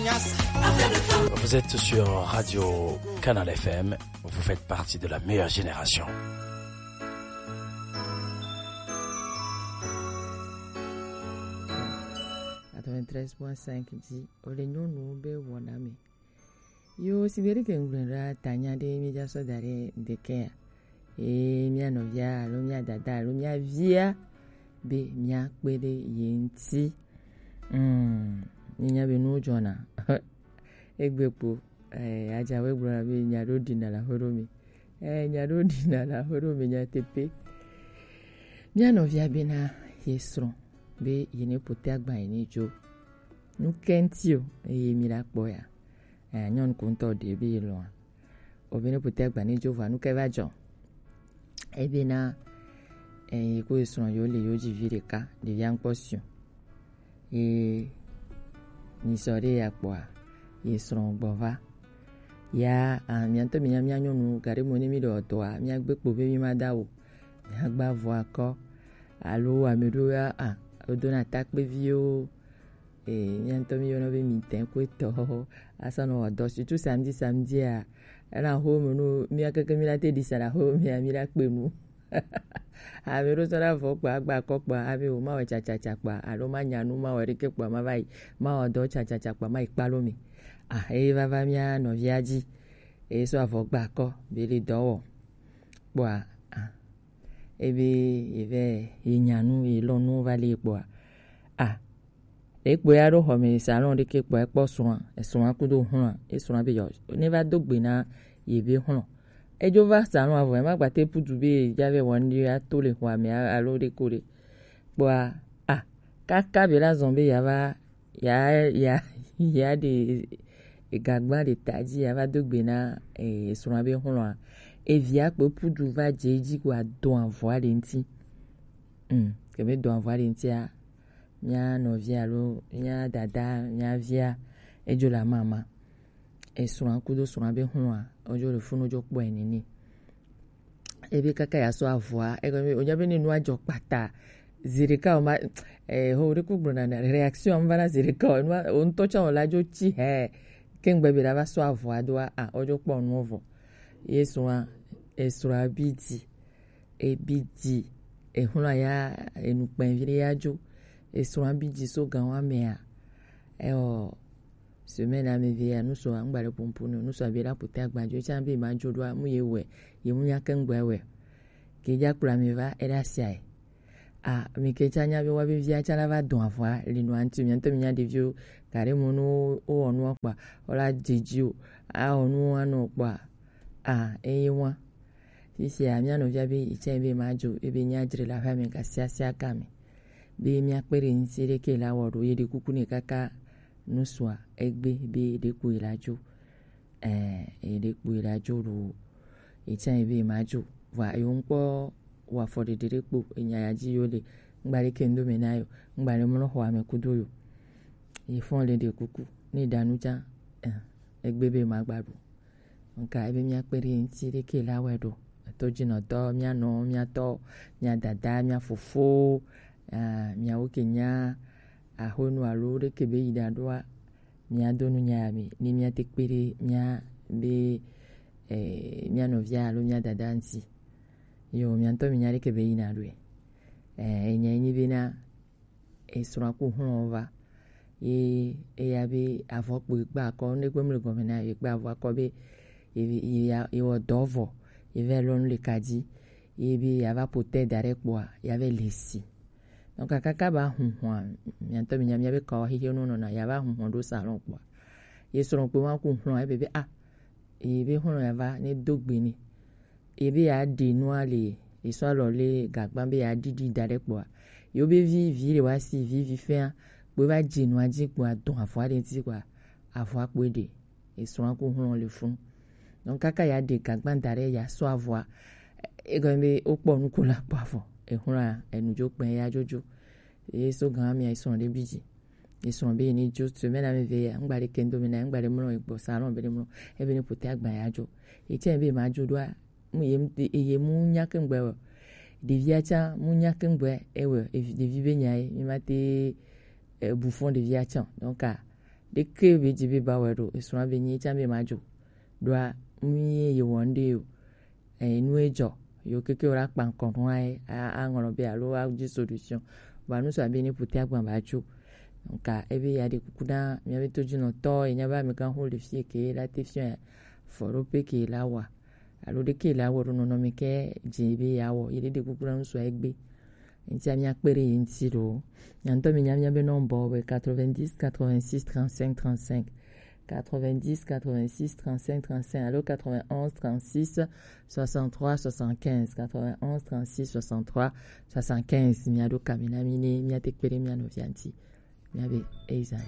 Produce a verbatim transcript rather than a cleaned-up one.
Vous êtes sur Radio Canal F M, vous faites partie de la meilleure génération. Quatre-vingt-treize point cinq dit, o le nyɔnu be wɔna me. Yo, si be ɖe ke ŋgblɔe ɖa, tanya ɖe mi dza sɔ da ɖe ŋdeke ya. Eye mía nɔvia alo mía dada alo mía via be mía kpe ɖe ye ŋuti. Mm, mi nya be nuwo dzɔna. Egbe kpo, eh, adzawe gblɔna be nya ɖo ɖina le aƒe ɖo me. Eh, nya ɖo ɖina le aƒe ɖo me nyateƒe. Mía nɔvia bena ye srɔ̃ be ye ne ƒote agba ye ne dzo. Nu ke ŋuti o, eye mi la kpɔ ya. Eh, nyɔnu ko ŋutɔ ɖe be ye lɔ̃a. O be ne ƒote agba ne dzo vɔa, nu ke va dzɔ. Ebena, eh, ye ko ye srɔ̃ yo le yo dzi vi ɖeka, ɖevia ŋkpɔ si o. Ye nyisɔ ɖe ya kpɔa, ye srɔ̃ gbɔ va. Ya, ah, mía ŋutɔ mía, mía nyɔnu, gaɖe mo ne mi ɖe dɔa, mía gbe kpo be mi ma da o. Mía gba vɔ akɔ. Alo ame ɖewo ya, ah, wodona takpeviwo. Eh, mía ŋutɔ mi yɔna be mi tɛ ko etɔ. Asa nɔ wɔ dɔ, surtout samedi, samedi a. Ena ho me no, mía keke mi la te ɖi sa la ho me, mi la kpe nu. Ame ɖewo sɔ la vɔ kpa, agba akɔ kpa, ave o, ma wɔ tsatsatsa kpa, alo ma nya nu, ma wɔ ɖeke kpa, ma va yi, ma wɔ dɔ tsatsatsa kpa, ma yi kpalo mi. Ah, eye vava mía nɔvia dzi. Eye sɔ avɔ gba akɔ, be le dɔ wɔ. Kpɔa, ah, ebe, ye vɛ, ye nya nu, ye lɔ̃ nu va le kpɔa. Ah, ekpɔe ya ɖo xɔ me salon ɖeke kpɔa, ekpɔ srɔ̃a, esrɔ̃a kudo hlɔ̃a, esrɔ̃a be yɔ, ne va do gbe na ye be hlɔ̃. Edzo va salon avɔ, ema gbate putu be ya vɛ wɔn ɖe ato le xɔa me a-, alo ɖe ko ɖe. Kpɔa, ah, kaka be la zɔn be ya va, ya, ya, ya ɖe gagba ɖe ta dzi, ya va do gbe na, eh, esrɔ̃a be hlɔ̃a. Evia kpo putu va dze edzi ko adɔn avɔa ɖe ŋuti. Mm, ke be dɔn avɔa ɖe ŋutia, mía nɔvi alo mía dada, mía via, edzo le amama. Esrɔ̃a kudo srɔ̃a be hlɔ̃a, wodzo le funu dzo kpɔe nene. Ebe kaka ya sɔ avɔa, egɔme be, wonya be ne nua dzɔ kpata, zi ɖeka o ma, eh, ho ɖe ku gblɔna na, réaction va na zi ɖeka o, nua, o ŋutɔ tsã o la dzo tsi he, ke ŋgbe be la va sɔ avɔa doa, a, wodzo kpɔ nuɔ vɔ. Ye srɔ̃a, esrɔ̃a bi di, ebi di, ehlɔ̃a ya, enu kpɛn vi ɖe ya dzo, esrɔ̃a bi di so gan wa mea, eo, semaine ame ve ya, nusɔ, ŋgba ɖe pompo no, nusɔ be la ƒote agba dzo, etsã be ma dzo ɖoa, mu ye wɛ, ye mu nya ke ŋgba wɛ. Ke dza kplɔ ame va, eɖe asia ye. A, mi ke tsã nya be wa be via tsã la va dɔn avɔa, li no anti, mi ŋutɔ mi nya ɖeviwo, ka ɖe mo no wo wɔ nua kpɔa, wo la dze dzi o, a wɔ nu anɔ kpɔa, a, eye wa. Fifia, mía nɔvia be, yi tsã be ma dzo, ebe nya dzre le aƒea me, gasiasia game. Be mía kpe ɖe ŋuti ɖeke la wɔ ɖo, ye ɖe kuku ne kaka nusua, egbe be ɖe ko ye la dzo. Eh, ye ɖe kpo ye la dzo ɖo, ye tsã ye be ma dzo. Vɔa, ye ŋkpɔ wɔ afɔ ɖeɖe ɖe kpo, enya ya dzi yo le, ŋgba ɖe ke ŋdo me na yo, ŋgba ɖe mlɔ xɔ ame kudo yo. Ye fɔn le ɖe kuku, ne ɖa nu tsã, eh, egbe be ma gba ɖu. Nka ebe mía kpe ɖe ŋuti ɖeke la wɛ ɖo. Eto dzi nɔ dɔ, mía nɔ, mía tɔ, mía dada, mía fofo, ah, mía wo ke nya, axonu alo ɖeke be yi ɖa ɖoa, mía do nu nya ya mi, ni mía te kpe ɖe mía be, eh, mía nɔvia alo mía dada ŋuti. Yo, mía ŋutɔ mi nya ɖeke be yi na ɖoe. Eh, enya nyi be na, esrɔ̃a ku hlɔ̃ va. Ye eya be avɔ kpo gba akɔ, ne gbe mle gɔme na, ye gba avɔ akɔ be, ye, ye ya, ye wɔ dɔ vɔ, ye vɛ lɔ nu le ka dzi, ye be ya va ƒote da ɖe kpɔa, ya vɛ le si. Donc, kaka ba huhɔa, mía ŋutɔ mi nya mía be kawa xixi nu nɔna, ya va huhɔ ɖo salon kpɔa. Ye srɔ̃ kpo ma ku hlɔ̃, ebe be, ah, ye be hlɔ̃ ya va, ne do gbe ni. Ye be ya ɖe nua le, ye sɔ alɔ le gagba be ya ɖiɖi da ɖe kpɔa. Yo be vi, vi le wa si, vi, vi fɛa, kpo va dze nua dzi kpɔa, dɔn avɔa ɖe ŋuti kpɔa, avɔa kpo ɖe, ye srɔ̃a ku hlɔ̃ le fun. Donc, kaka ya ɖe gagba da ɖe, ya sɔ avɔa, egɔme be wokpɔ nu ko la kpɔ avɔ, ehlɔ̃a, enu dzo kpɛ ya dzodzo. Ye so gan mi, ye srɔ̃ ɖe bi dzi. Ye srɔ̃ be ye ne dzo semaine ame ve ya, ŋgba ɖe ke ŋdo me na, ŋgba ɖe mlɔ ye gbɔ salon be ɖe mlɔ, ebe ne ƒote agba ya dzo. Ye tsɛ be ma dzo ɖoa, mu ye, ye mu nya ke ŋgbe wɛ. Ɖevia tsã mu nya ke ŋgbe ewɛ, evi, ɖevi be nya ye, mi ma te, eh, bu fɔn ɖevia tsã. Donc, ah, ɖeke be dzi be ba wɛ ɖo esrɔ̃ be nyi tsa be ma dzo ɖoa, nu ye ye wɔ ŋɖe o. Enu edzɔ yo keke wo la kpa ŋkɔ nua ye aŋlɔ be alo adzi solution. Vɔa nu sɔ abe ne ƒote agba ba tso. Nka ebe ya ɖe kuku na miabe todzinɔtɔ ye nya be amegã ho le fie ke la te fia fɔɖoƒe ke la wa alo ɖeke la wɔ ɖo nɔnɔme ke dze be ya wɔ ye ɖe ɖe kuku na nu sɔ egbe. Ŋutia míakpe ɖe ye ŋuti ɖo. Nya ŋutɔ mi nya míabe nɔmbɔ be quatre-vingt-dix quatre-vingt-six trente-cinq trente-cinq, quatre-vingt-dix quatre-vingt-six trente-cinq trente-cinq alo quatre-vingt-onze trente-six soixante-trois soixante-quinze, quatre-vingt-onze trente-six soixante-trois soixante-quinze. Miaɖo kami na mi ne míate kpe ɖe mia nɔvia ŋuti. Míabe Eiza.